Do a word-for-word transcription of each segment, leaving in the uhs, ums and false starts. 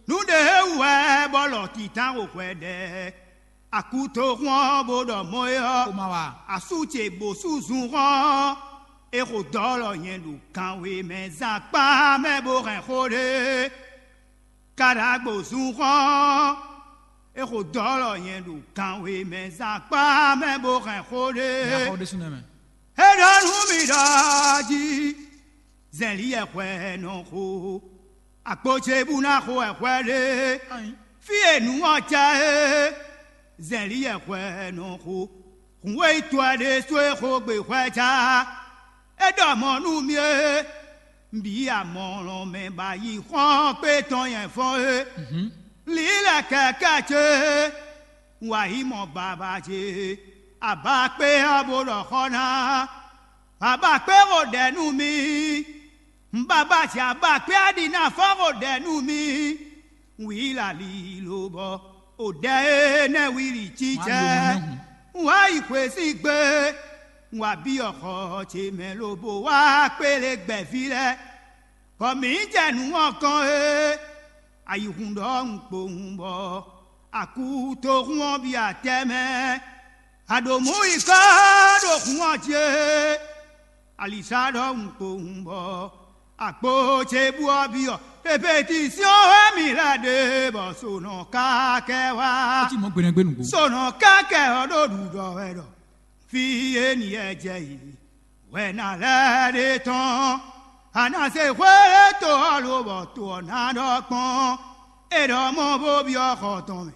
Nǔ ɖé wú wɛ bɔ lɔ titán xo hwɛ ɖɛ. Akutoxún ɔ́ bó ɖɔ mɔ é ɔ́, asú ce bǒ sú zunhɔn. É xo dɔ́ lɔ nyɛ ɖo kanwe mɛ zán kpá mɛ bó hɛn xó ɖé. Kaɖagbo zunhɔn. É xo dɔ́ lɔ nyɛ ɖo kanwe mɛ zán kpá mɛ bó hɛn xó ɖé. É ɖɔ nú mì ɖɔ jí. Zɛ̌nlí yɛ hwɛ nɔ xo. Akpo ce bú ná xo wɛ hwɛ ɖé. Fí e nǔ ɔ́ cá é. Zɛ̌nlí yɛ hwɛ nɔ xo. Hǔn e yi to ɛ ɖésú e xo gbe hwɛ cá. É ɖɔ mɔ̌ nú mì é. Bǐ amɔlɔn mɛ ba yi xɔ́n kpé tɔn nyɛ fɔ́n é. Lílɛ kɛkɛ ce. Wǎ yi mɔ baba ce. Abakpé ɔ́ bó ɖɔ xɔ́ ná. Baba kpé xo ɖɛ nú mì. Baba ce abakpé ɔ́ ɖi ná fɔ́n xo ɖɛ nú mì. Wǐ lali lobɔ o ɖɛ énɛ́ wíli cícɛ. Wá yi xwe sín gbé. Wá byɔ́ xɔ ce mɛ lobo wá kpélé gbɛ̌ví lɛ́ɛ. Bɔ mǐ jɛ nǔ ɔ́ kɔn é. Ayǐhun ɖɔhun kpowun bɔ akútohun ɔ́ bia tɛ́ mɛ. Aɖǒmú yi kɔ ɖo hun ɔ́ jí é. Alisa ɖɔhun kpowun bɔ akpo ce bú ɔ́ byɔ́. Pepetisiɔn wɛ mǐ lɛ́ ɖe bɔ sonɔ ká kɛ wá. Sonɔ ká kɛ ɔ́ ɖo ɖuɖɔ wɛ ɖɔ. Fí e nǐ yɛ jɛ yi wɛ ná lɛ́ ɖe tɔn. A nǎ se xwé to ɔ́ lobɔ to ɔ́ ná ɖɔ kpɔ́n. É ɖɔ mɔ bó byɔ́ xɔ tɔn mɛ.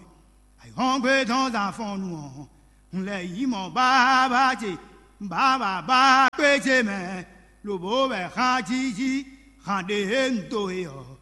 Ayǐhɔ́ngbe tɔn zán fɔ́n nu ɔ́, un lɛ́ yi mɔ bábá ce. Bábá bá kpé ce mɛ. Lobo wɛ xán jíjí xán ɖe e un dó e ɔ́.